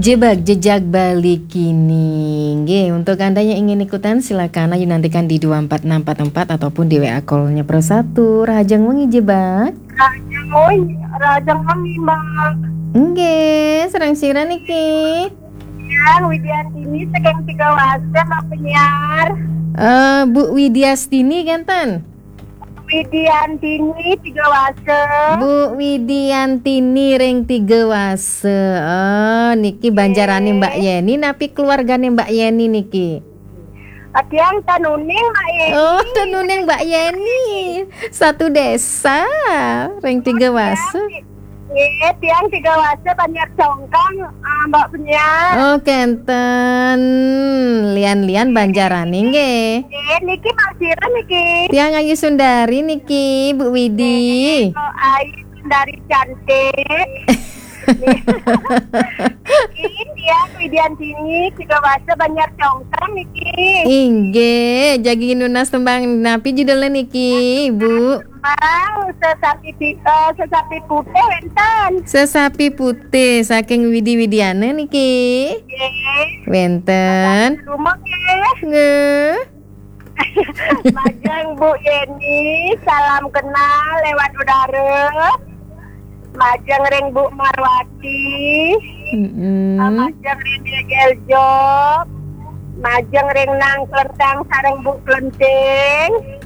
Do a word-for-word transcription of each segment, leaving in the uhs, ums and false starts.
Jebak jejak Bali kini. Nggih, untuk Anda yang ingin ikutan, silakan aja nantikan di dua empat enam empat empat ataupun di W A call-nya Pro satu. Rahajeng wengi Jebak. Rahajeng wengi, rahajeng wengi, Mbak. Nggih, sareng sira niki? Yang Widiantini saking Tiga Wasa, Mbak penyiar. Eh, Bu Widiastini kenten? Widiantini Tiga Wasa. Bu Widiantini ring Tiga Wasa. Oh, niki banjarane Mbak Yeni napi keluargane Mbak Yeni niki? Tiang tenuning Mbak Yeni. Oh, tenuning Mbak Yeni. Satu desa ring Tiga Wasa. Nggih, tiang Tiga Wasa Banjar Congkang, ah, Mbak penyiar. Oh, kenten. Lian-lian banjarane nggih. Nggih, niki Mbak sira niki? Tiang Ayu Sundari niki, Bu Widi. Oh, Ayu Sundari cantik. Niki tiang Widiantini, Tiga Wasa Banjar Congkang niki. Inggih, jagi nunas tembang napi judulnya niki, Bu? Tembang Sesapi Pi-, eh, Sesapi Putih wenten. Sesapi Putih saking Widi Widiana niki. Nggih. Wenten. Rumah nggih. Nggih. Majeng Bu Yeni, salam kenal lewat udara. Majeng ring Bu Marwati. Mm-mm. Majeng ring Degel Job. Majeng ring Nang Klentang sareng Bu Klenting.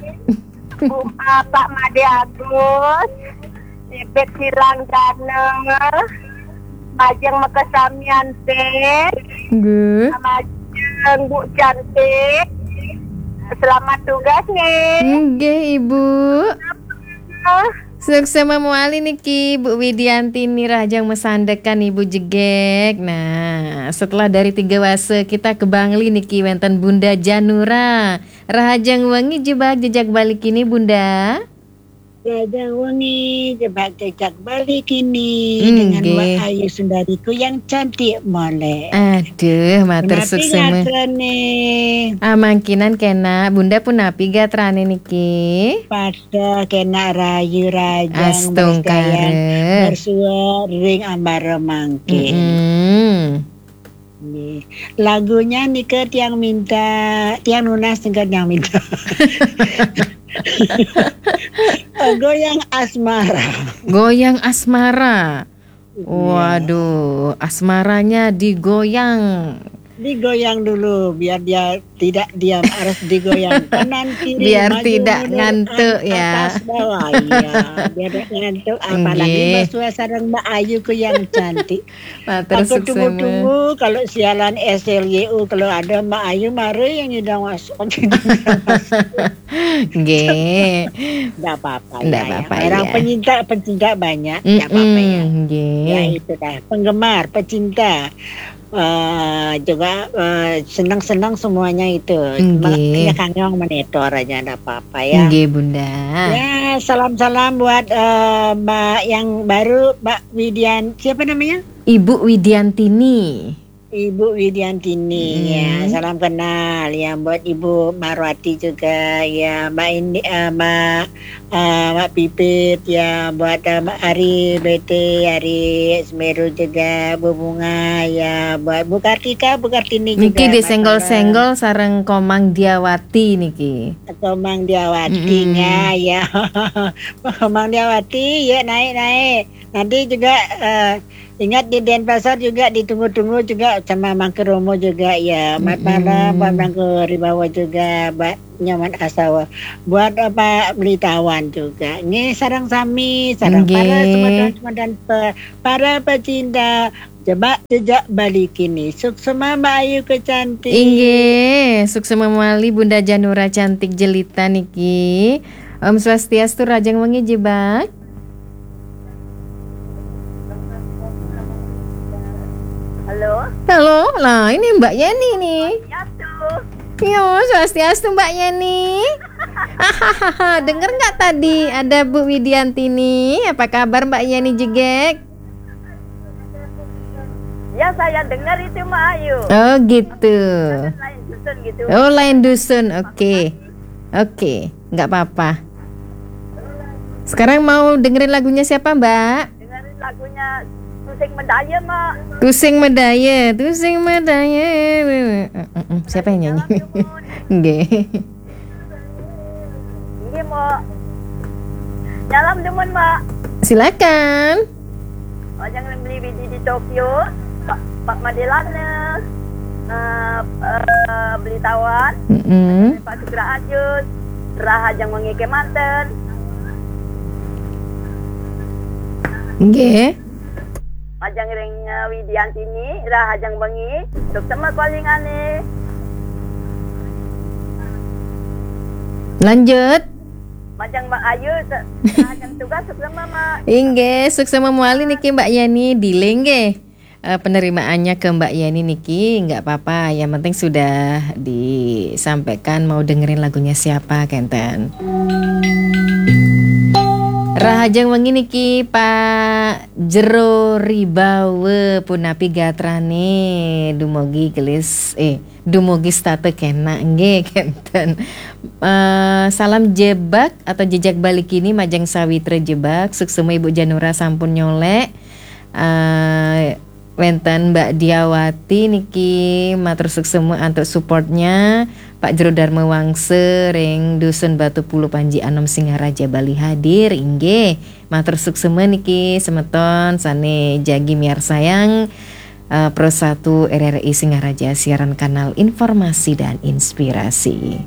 Bu, ah, Pak Made Agus. Ibet Silang Dana. Majeng makasamian, Pet. Nggih. Majeng Bu Cantik. Selamat tugas nih. Nggih, Ibu. Ah. Suksma mawali niki Bu Widiantini, rahajeng masandekan Ibu Jegek. Nah, setelah dari Tiga Wasa kita ke Bangli niki wenten Bunda Janura. Rahajeng wengi Jebak jejak Bali kini, Bunda. Rahajeng wengi Jebak jejak Bali kini. Nggih. Dengan Mbak Ayu Sundariku yang cantik molek. Aduh, matur suksma. Menapi gatrane? Ah, mangkinan kena, Bunda punapi gatrane niki? Pada kena rahayu rahajeng. Astungkara. Bersuara ring ambara mangkin. Mm-mm. Nggih. Lagunya nika tiang minta, tiang nunas nika tiang minta. Goyang Asmara. Goyang Asmara. Iya. Waduh, asmaranya digoyang. Digoyang dulu biar dia tidak diam, harus digoyang kanan kiri, maju mundur, atas bawah. Biar tidak ngantuk ya. Iya, biar tidak ngantuk, apalagi Mbak Sua sareng Mbak Ayu ku yang cantik. Matur suksma. Aku tunggu-tunggu kalau siaran S L Y U, kalau ada Mbak Ayu, mari yang nyidang masuk. Nggih. Nggak apa-apa. Nggak ya, apa-apa, ya. Orang pecinta, pecinta banyak, nggak apa-apa ya. Mm-mm, nggih. Ya, itu dah. Penggemar, pecinta, eh, juga, eh, senang-senang semuanya itu. Nggih. Makanya kangkang monitor aja, nggak apa-apa ya. Nggih, Bunda. Ya, salam-salam buat, eh, Mbak yang baru, Mbak Widian, siapa namanya? Ibu Widiantini. Ibu Widiantini, ya, salam kenal ya buat Ibu Marwati juga ya, Mbak Indi, eh, Mbak, eh, Mbak Pipit ya, buat, eh, Mbak Ari B T, Ari Semeru juga, Bu Bunga ya, buat Bu Kartika, Bu Kartini juga. Niki disenggol-senggol sareng Komang Diawati niki. Komang Diawati ya, ya. Komang Diawati, ya, naik-naik. Nanti juga, eh, ingat di Denpasar juga ditunggu-tunggu juga sama Mangku Romo juga ya. Mat malam buat Mangku Ribawa juga, buat Nyoman Asawa. Buat, eh, Pak Belitawan juga. Nggih, sareng sami, sareng para semeton-semeton pe-, para pecinta Jebak jejak Bali kini. Suksma Mbak Ayu kecantik. Inggih, suksma mawali Bunda Janura cantik jelita niki. Om Swastiastu, rahajeng wengi Jebak. Halo. Halo, lah ini Mbak Yeni nih. Swastiastu. Yo, Swastiastu Mbak Yeni. Dengar nggak tadi ada Bu Widiantini? Apa kabar Mbak Yeni Jegek? Ya, saya dengar itu, Mbak Ayu. Oh, gitu. Lain dusun gitu. Oh, lain dusun. Oke. Oke, nggak apa-apa. Sekarang mau dengerin lagunya siapa, Mbak? Dengerin lagunya Sus Sing medaya, Mak. Tusing Medaya, Tusing Medaya. Mm, mm, mm. Siapa yang nyanyi? Nggih. Nggih, Mak. Nyalam demen, Mak. Silakan. Majeng ring Beli Widi di Tokyo, Pak, Pak Madelana, eh, eh, Beli Tawan, Mm-mm. Pak Sugra Ajus, rahajeng wengi kemanten. Nggih. Majeng ring eh, Widiantini, rahajeng wengi, suksema kalingane. Lanjut. Majeng Mbak Ayu, se- rahajeng tugas, suksema, Mak. Inggih, suksema mawali niki Mbak Yani, dealing nggih. Eh, penerimaannya ke Mbak Yani niki nggak apa-apa, yang penting sudah disampaikan mau dengerin lagunya siapa kenten. Rahajeng wengi niki Pak Jero Ribawe, punapi gatrane, dumugi gelis eh dumugi setata kenak nggih kenten. Eh, salam jebak atau jejak balik ini majeng Sawitra Jebak, suksema Ibu Janura sampun nyolek. Eh, wenten Mbak Diawati niki matur suksema antuk supportnya. Pak Jero Darma Wangsa ring Dusun Batu Pulu Panji Anom Singaraja Bali hadir inggih. Matur suksema niki semeton sane jagi miarsayang eh, Pro satu R R I Singaraja, siaran kanal informasi dan inspirasi.